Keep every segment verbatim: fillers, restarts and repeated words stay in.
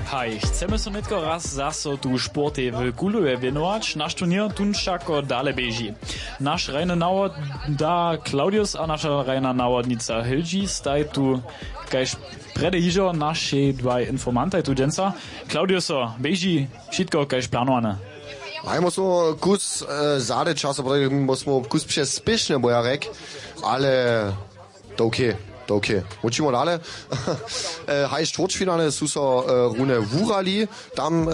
Haj, chcemy so nětko raz zaso tu sportej w Kulowej wěnować, naš turněr tón wšako dale běži. Naš hrajny nawoda Claudius a naša hrajna nawodnica Hilži staj tu kaž prjedy hižo našej dwaj informantaj tu dźensa. Claudiuso, běži wšitko kaž planowane? Hajmo so kus e, zady času, potom smo kus přespěšne, bo ja rek, ale to okay, to okay. Učimo dale. E, haj, štwórtfinale su so e, rune wurali. Tam e,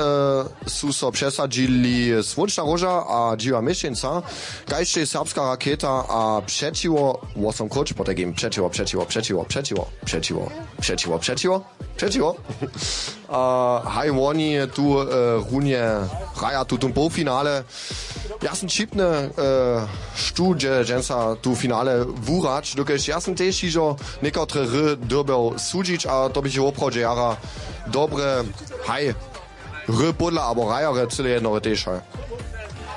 su so přesadźili Słónčna róža a Dźiwa Měšćenca. Kaž tež Serbska raketa a přećiwo, wosom króć, potajkim přećiwo, přećiwo, přećiwo, přećiwo, přećiwo, přećiwo, přećiwo, přećiwo. A haj, woni tu e, runje hraja tutón połfinale. Ja sym ćipny, e, štó dźe dźensa tu finale wurać, dokelž ja sym tež hižo někotre hry dyrbjał sudźić a to běchu woprawdźe jara dobre, haj, hry podla abo hrajerje cyle jednore tež, haj.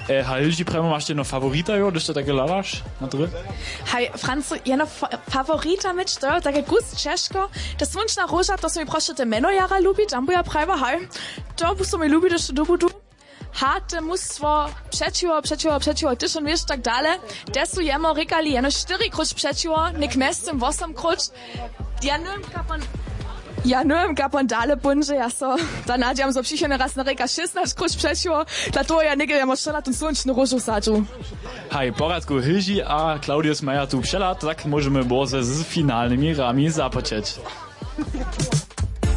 E, haj, Hilži, prjemo, maš jedno favorita, jo, hdyž to take hladaš na dry? Haj, Francu, jedno fa- favorita myć, to je take kus ćežko. Ta Słónčna róža, to so mi prošo te mjeno jara lubi, tam bu ja prajła, haj, to bu so mi lubi, hdyž to dobu du. Ha, te mustwo přećiwo, přećiwo, přećiwo, hdyž on wěš, tak dale. Te su jemo rěkali jeno štyri króć přećiwo, něk mjeztym wosom króć. Ja nywam, kapon, ja nywam, kapon dale póńdźe, ja so da nadźijam, zo přichodny raz narěka šěsnaće króć přećiwo, dla toho ja něke jemo wšela tón Słónčnu róžu sadźu. Haj, w porjadku, Hilži a Claudius maja tu přehlad, tak móžemy bórze z finalnymi hrami započeć.